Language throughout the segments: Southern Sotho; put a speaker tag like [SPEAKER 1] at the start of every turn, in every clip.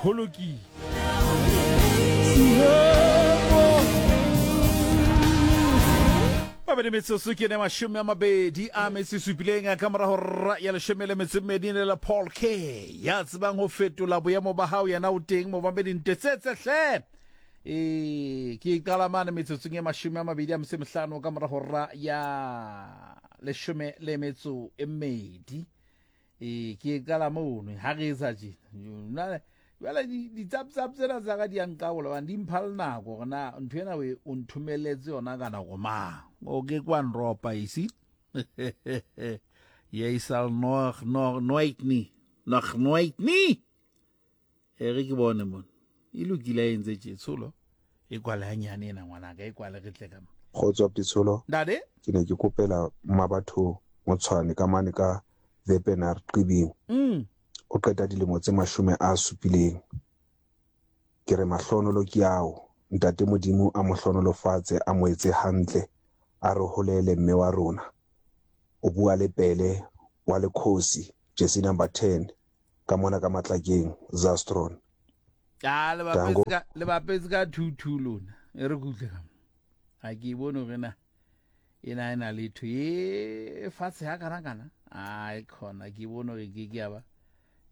[SPEAKER 1] Ho lokile. Mabedi metsotso ke ne 27 ka morago ra ya 12 le la Paul K ya tsebang ho fetola boemo ba hao yena o teng momamedi ntetsetse hle e ke qala mane metsotsong e 25 ka morago ra ya 12. Ee, ke e qala mono ha re etsa tjena. Jwale di-tsap-tsap tsena tsa ka di a nqabola hobane di mpha le nako hore na ntho ena o nthomeletse yona ka nako mang. O ke kwa nropa you see. Jy sal nog nog nooit nie. Nog nooit nie. E re ke bone mona. E lokile a entse tje tsholo. E kwale hanyane ena ngwanaka e kwale re tle ka mo.
[SPEAKER 2] Kgotso Abuti Tsholo.
[SPEAKER 1] Ntate.
[SPEAKER 2] Ke ne ke kopela Mmabatho Motshwane ka mane ka Wepener Qibing. O qeta dilemo tse 70. Ke re mahlonolo ke ao. Ntate Modimo a mo hlonolofatse a mo etse hantle a re holele mme wa rona. O bua le Pele wa Lekhosi jersey number 10 ka mona ka Matlakeng, Zastron.
[SPEAKER 1] Ah, le bapetse ka le bapetse ka 2-2 lona. E re kutle ka. Ha ke e bone hore na ena e na le tho e fatshe ha kana kana. Ai khona ke bone hore ke ke ya ba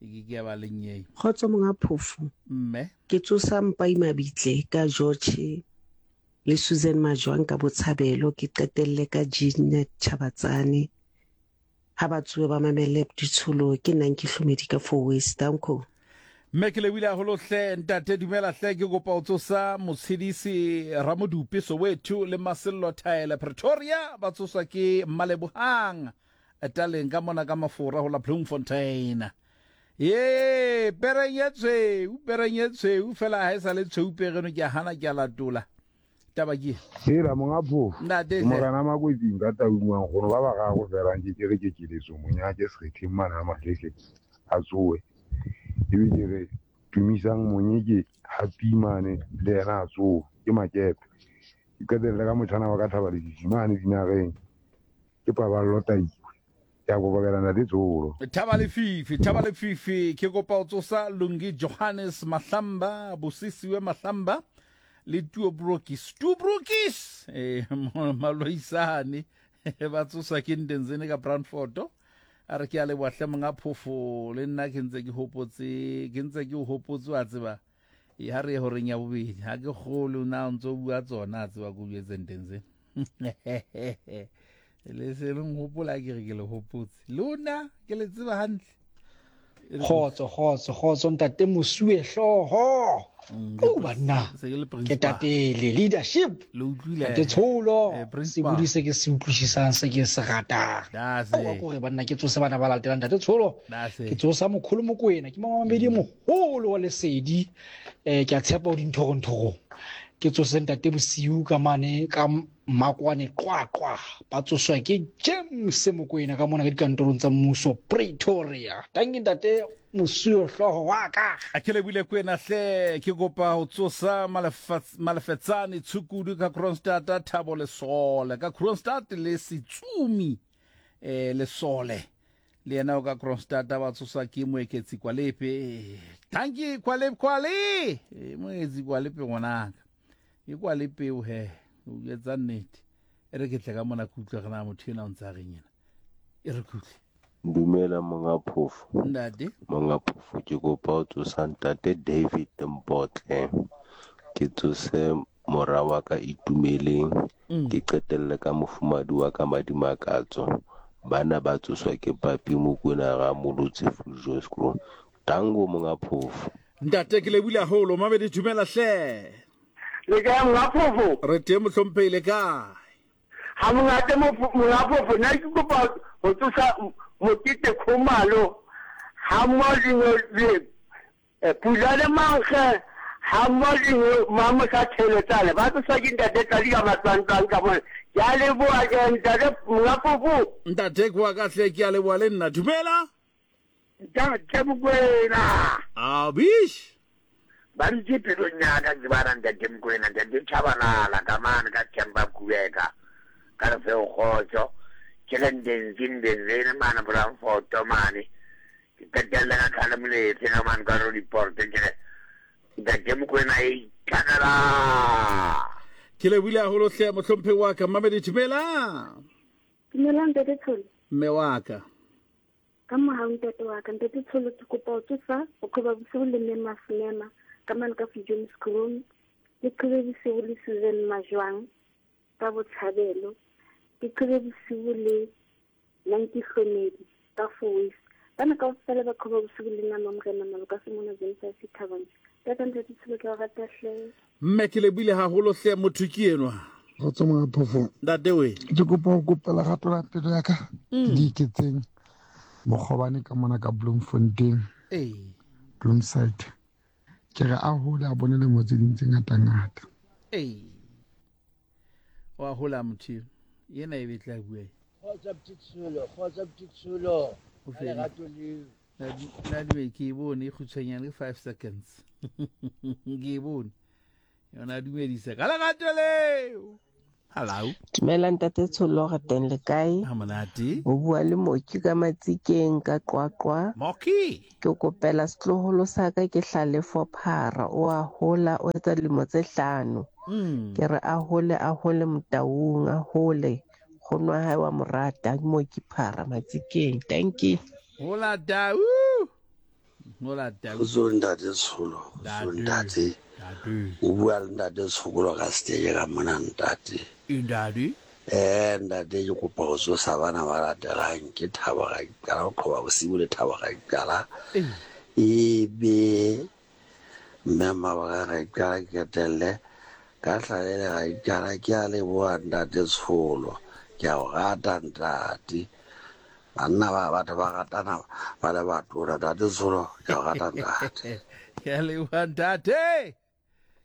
[SPEAKER 1] e ke ke ya ba lenyei.
[SPEAKER 3] Kgotso monga Phofo.
[SPEAKER 1] Mme.
[SPEAKER 3] Ke tsosa Mpai Mabitle ka George le Susan Majwang ka Botshabelo ke qetelle ka Jeanette Chabatsane. Ha ba tsohe ba mamelle ditsholo ke nna Nkihlomedi ka Fourways. Danko.
[SPEAKER 1] Mme ke lebohile haholo hle ntate dumela hle ke kopa o tsosa Motshedisi Ramodupe Soweto le Masello Thaele Pretoria ba tsoswa ke Mmalebohang Taleng ka mona ka Mafora ho la Bloemfontein. Ye pereng e tshweu pereng e tshweu fela ha e sa le tshweu pereno ke a hana ke a latola. Taba ke.
[SPEAKER 4] Hela monga phofu.
[SPEAKER 1] Ntate
[SPEAKER 4] Ke morena Makwetsing ka Taung wa nkgono ba bararo fela nke ke re ke keletso monyake Sekgetheng mane ha Mahlehle a tsoe. Ebe ke re Tumisang Monyeke Happy mane le yena a tsoe ke Makepe. Ke qetelle ka motjhana wa ka Thaba Lefifi mane Dinareng ke Paballo Taiwe. Ke a kokobela ntate Tsolo.
[SPEAKER 1] Thaba Lefifi, Thaba Lefifi, ke kopa o tsosa Lungi Johannes Mahlamba, Bosisiwe Mahlamba le Tuo Brokis. Tuo Brokis! Eh, maloisane ba tsosa ke Ndenzene ka Brandfort. A re ke a leboha hle monga phofo le nna ke ntse ke hopotse, ke ntse ke o hopotse wa tseba. E ha re ye horeng ya bobedi, ha ke kgole na o ntse o bua tsona a tseba ko jwetse Ndenzene. Le se le nhopola ke re ke le hopotse lona ke le tseba hantle.
[SPEAKER 5] Kgotso kgotso kgotso ntate Mosuwe hlooho. O banna ke tatele leadership.
[SPEAKER 1] Le utlwile.
[SPEAKER 5] Ntate Tsholo sebodi se ke se utlwisisang se ke se ratang. Wa kore banna ke tsose bana ba latelang ntate Tsholo. Ke tsosa mokholo Mokoena ke mamamedi moholo wa lesedi. Eh ke a tshepa o dinthorong. Ke tsose ntate Bosiu ka mane ka Makwane Qwaqwa ba tsoswa ke James Mokoena ka mona ka dikantorong tsa mmuso Pretoria. Tanki ntate Mosuo hlooho wa ka.
[SPEAKER 1] A ke lebile kwena hle ke kopa ho tsosa Malefetsane Tshukudu ka Kroonstad Thabo Lesole ka Kroonstad le Setsumi eh Lesole le yena o ka Kroonstad ba tsoswa ke Moeketsi Kwalepe. Tanki Kwalepe Kwale Moeketsi Kwalepe ngwanaka. E kwa le peo he o etsa nnete e re ke tle ka mona ke utlwe re na motho ena o ntse a reng ena e re ke utlwe.
[SPEAKER 6] Dumela monga phofo.
[SPEAKER 1] Ntate.
[SPEAKER 6] Monga phofo ke kopa o tsosa ntate David Mpotle. Ke tsose mora wa ka Itumeleng. Ke qetelle ka mofumadi wa ka Madimakatso. Bana ba tsoswa ke Papi Mokwena Ramolotse Fuljoskro. Tango monga phofo.
[SPEAKER 1] Ntate ke lebile haholo mabedi dumela hle.
[SPEAKER 7] Le kae monga phofo?
[SPEAKER 1] Re teng mohlomphehi le kae?
[SPEAKER 7] Ha monate monga phofo nna ke kopa ho tsosa Mokete Khumalo ha mmoho le Pula le Mankge ha mmoho le Mamosa Theletsane ba tsoswa ke ntate Tlali ka matlwantlwang ka mona. Ke a leboha ke ntate monga phofo.
[SPEAKER 1] Ntate ke wa ka hle ke a leboha le nna dumela.
[SPEAKER 7] Ntate Mokwena.
[SPEAKER 1] Abish.
[SPEAKER 7] Ba dutse pelong ya ka ke bana ntate Mokwena, ntate Tshabalala ka mane ka Themba Kubeka ka re feo kgotso. Ke le Ndenzi Ndenzene mane Bramfoto mane. Ke qetelle ka Tlhale Molefe ka mane ka Roodepoort ke re. Ntate Mokoena e itlhakela.
[SPEAKER 1] Ke lebohile haholo hle mohlomphehi wa ka. Mmamedi dumelang.
[SPEAKER 8] Dumelang Ntate Tsholo.
[SPEAKER 1] Mme wa ka.
[SPEAKER 8] Ka mohau ntate wa ka. Ntate Tsholo ke kopa ho tsosa bokhoba bosigo le mme Masemema ka mane ka Viljoenskroon. Ke qhobe bosigo le Susan Majwang ka Botshabelo. Ke qhobe bosigo le Nanki Hlomedi ka Fowees. Bana kaofela ba qhoba bosigo le nna Mamorena Maloka Semona James Thabang. Tata Ntate Tsholo ke a o rata hle.
[SPEAKER 1] Mme ke lebohile haholo hle motho ke enwa.
[SPEAKER 9] Kgotso monga phofo.
[SPEAKER 1] Ntate we.
[SPEAKER 9] Ke kopa ho kopa lerato la pelo ya ka. Ke di iketseng mokgobane ka mona ka Bloemfontein.
[SPEAKER 1] Ee.
[SPEAKER 9] Bloemside. Ke re a hole a bone lemo tse ding tse ngata ngata.
[SPEAKER 1] Ee. Wa hola motho eno. Yena e be tla bua.
[SPEAKER 10] Kgotsa Ptitsholo, kgotsa Ptitsholo.
[SPEAKER 1] O fedile.
[SPEAKER 10] Lerato leo.
[SPEAKER 1] Nadiwe ke e bone e kgutshwanyane ke 5 seconds. Ke e bone. Yona dumedisa ka lerato leo. Hello.
[SPEAKER 11] Dumela ntate Tsholo re teng le kae?
[SPEAKER 1] Ha monate.
[SPEAKER 11] O bua le Moki ka Matsikeng ka Qwaqwa.
[SPEAKER 1] Moki.
[SPEAKER 11] Ke kopela setloholo sa ka ke Hlalefo Phara o a hola o etsa dilemo tse hlano. Ke re a hole a hole Motaung a hole. Nkgono wa hae wa mo rata ke Moki Phara Matsikeng. Thank you.
[SPEAKER 1] Hola tau. Hola tau.
[SPEAKER 12] Kgotso ntate Tsholo, kgotso ntate. O bua le ntate Tshokolo ka seteke ka mona ntate.
[SPEAKER 1] Ntate.
[SPEAKER 12] Eh ntate ke kopa ho tsosa bana ba latelang ke Thabo Raikala ho qhoba bosibu le Thabo Raikala. E be mme Mabaka Raikala ke qetelle ka Hlalele Raikala ke a leboha ntate Tsholo ke a o rata ntate. Banna ba batho ba ratana ba le batona ntate Tsholo ke a o rata ntate.
[SPEAKER 1] Ke a leboha ntate.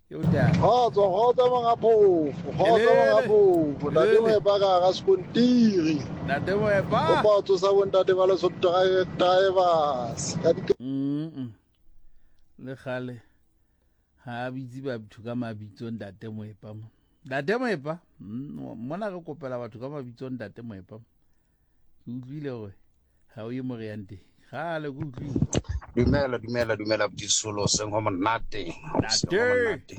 [SPEAKER 13] Kgotso, kgotso monga phofo, kgotso monga phofo. Ntate Moepa ka hara sekontiri.
[SPEAKER 1] Ntate Moepa.
[SPEAKER 13] Kopa ho tsosa bontate ba Lesotho drivers. Ka di
[SPEAKER 1] Le kgale ha a bitse batho ka mabitso ntate Moepa mo. Ntate Moepa, mona re kopela batho ka mabitso ntate Moepa. Ke utlwile hore ha o ye mo re yang teng. Kgale ke utlwile.
[SPEAKER 14] Dumela, dumela, dumela Bdisolo, seng ho monate. Seng ho monate.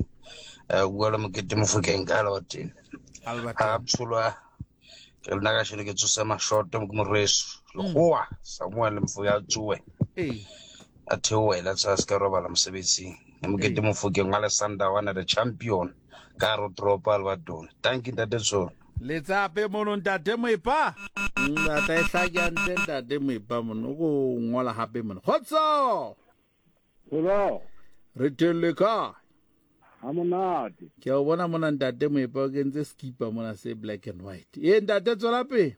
[SPEAKER 14] Eh, bua le Mokete Mofokeng ka Albertine.
[SPEAKER 1] Albertine.
[SPEAKER 14] Ha Bsolo ke lena ka shelo ke tsose mashoto ke moreso. Lekgowa Samuel Mfoya tsoe.
[SPEAKER 1] Ee.
[SPEAKER 14] A theohela tsa se ka robala mosebetsing. Mokete Mofokeng wa Lesanda wa the champion ka hare ho toropo Albertone. Thank you ntate Tsholo.
[SPEAKER 1] Letsape mono ntate Moepa. Ntate e hlake hantle ntate Moepa mono o ko ngola hape mono. Kgotso.
[SPEAKER 15] Hello.
[SPEAKER 1] Re teng le kae?
[SPEAKER 15] Ha monate.
[SPEAKER 1] Ke a o bona mona ntate Moepa o kentse skipa mona se black and white. Ee ntate tswela pele.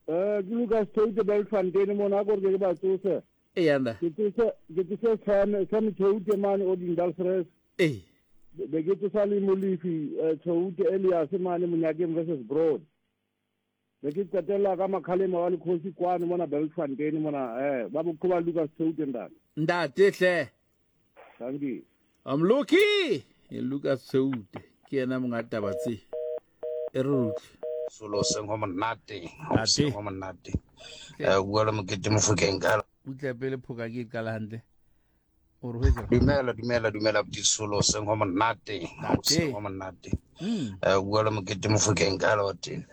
[SPEAKER 15] Eh ke Lucas Theute Belfontein mona a ko re ke ba tsose.
[SPEAKER 1] Ee anda.
[SPEAKER 15] Ke tsose ke tsose Sam Sam Theute mane o Dindalsres.
[SPEAKER 1] Ee.
[SPEAKER 15] Be ke tsosa le Molefi Theute Elias mane Monyakeng versus Broad. Be ke qetella ka Makhalema wa Lekgosi kwano mona Belfontein mona eh ba bokhoba Lucas Theute ntate.
[SPEAKER 1] Ntate hle.
[SPEAKER 15] Thank you.
[SPEAKER 1] I'm lucky. E Lucas Theute ke yena monga taba tse. E re utlwe.
[SPEAKER 14] Solo seng ho monate, seng ho monate. Eh bua le Mokete Mofokeng ka
[SPEAKER 1] Utlwa pele phoka ke e qala hantle. O re ho etsa.
[SPEAKER 14] Dumela, dumela, dumela Bdisolo seng ho monate, seng ho monate. Eh bua le Mokete Mofokeng ka Albertine.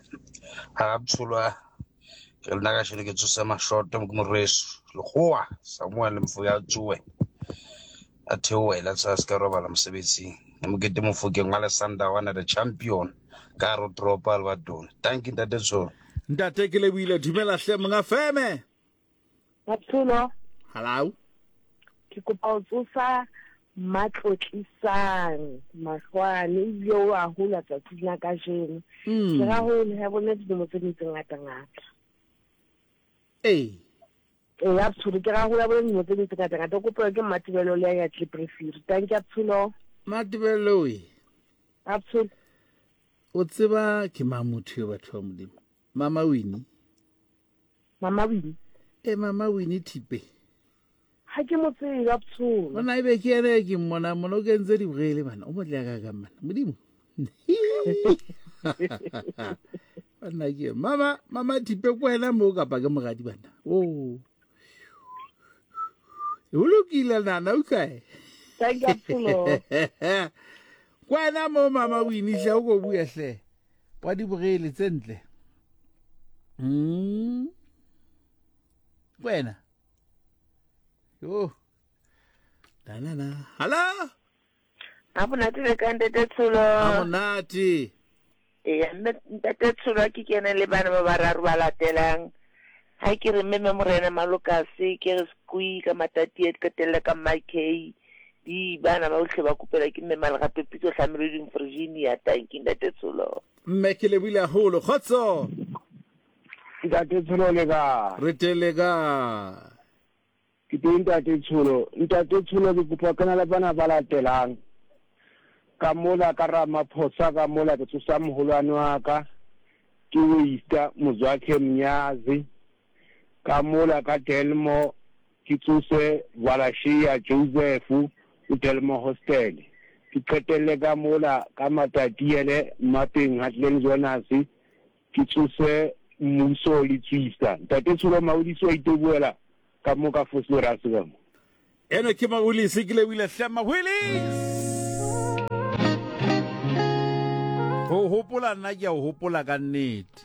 [SPEAKER 14] Ha Bsolo ke lena ka shelo ke tsose mashoto ke moreso. Lekgowa Samuel Mfoya tsoe. A theohela tsa se ka robala mosebetsing. Mokete Mofokeng wa Lesanda wa the champion ka hare ho toropo Albertone. Thank you ntate Tsholo.
[SPEAKER 1] Ntate ke lebohile dumela hle monga feme.
[SPEAKER 16] Matsholo.
[SPEAKER 1] Hello.
[SPEAKER 16] Ke kopa ho tsosa Matlotlisang Mahlwane ebile o a hola tsatsing la kajeno. Ke ra ho ha bona dilemo tse ding tse ngata ngata.
[SPEAKER 1] Ee.
[SPEAKER 16] Ee, a Tsholo ke ra ho ya bona dilemo tse ding tse ngata ngata. O kopelwa ke Mmatebello le ya Kliprefiri. Thank you Tsholo.
[SPEAKER 1] Mmatebello we.
[SPEAKER 16] A Tsholo.
[SPEAKER 1] O tseba ke mang motho yo batho ba Modimo? Mama Winnie.
[SPEAKER 16] Mama Winnie.
[SPEAKER 1] E Mama Winnie Thipe.
[SPEAKER 16] Ha ke mo tsebe a Tsholo.
[SPEAKER 1] Ona ebe ke ene ke mmona mona o kentse dibrele bana. O motle ka ka mana. Modimo. Banna ke mama mama Thipe ko wena mo kapa ke moradi bana. Oh. O lokile nana utlwa.
[SPEAKER 16] Thank you Tsholo.
[SPEAKER 1] Kwena mo mama o iniša o ko bue hle. Wa di bogele tse ntle. Kwena. Yo. Danana. Hello.
[SPEAKER 17] A monate le ka ntate Tsholo.
[SPEAKER 1] A monate.
[SPEAKER 17] Eya mme ntate Tsholo ke kene le bana ba bararo ba latelang. Ha ke re mme Morena Malokase ke re Squi ka Matati e qetelle ka Mike di bana ba ohle ba kopela ke mme Malgape Pitso Hlameloding Virginia. Thank you ntate Tsholo.
[SPEAKER 1] Mme ke lebohile haholo. Kgotso.
[SPEAKER 15] Ntate Tsholo le ka.
[SPEAKER 1] Re teng le ka.
[SPEAKER 15] Ke teng Ntate Tsholo. Ntate Tsholo ke kopa kena le bana ba latelang. Ka mola ka Ramaphosa ka mola ke tsosa moholwane wa ka ke Waster Mozwakhe Mnyazi. Ka mola ka Delmo ke tsose Valashiya Joseph o Delmo Hostel. Ke qetelle ka mola ka Matatiele Mmapeng Hartland Jonas ke tsose Mmuso le Tswisa. Ntate Tsholo Maodisi wa iteboela ka mo ka Vosloorus ka mo.
[SPEAKER 1] Eno ke Mawilisi ke lebile hle Mawilisi. Ho hopola nna ke a o hopola ka nnete.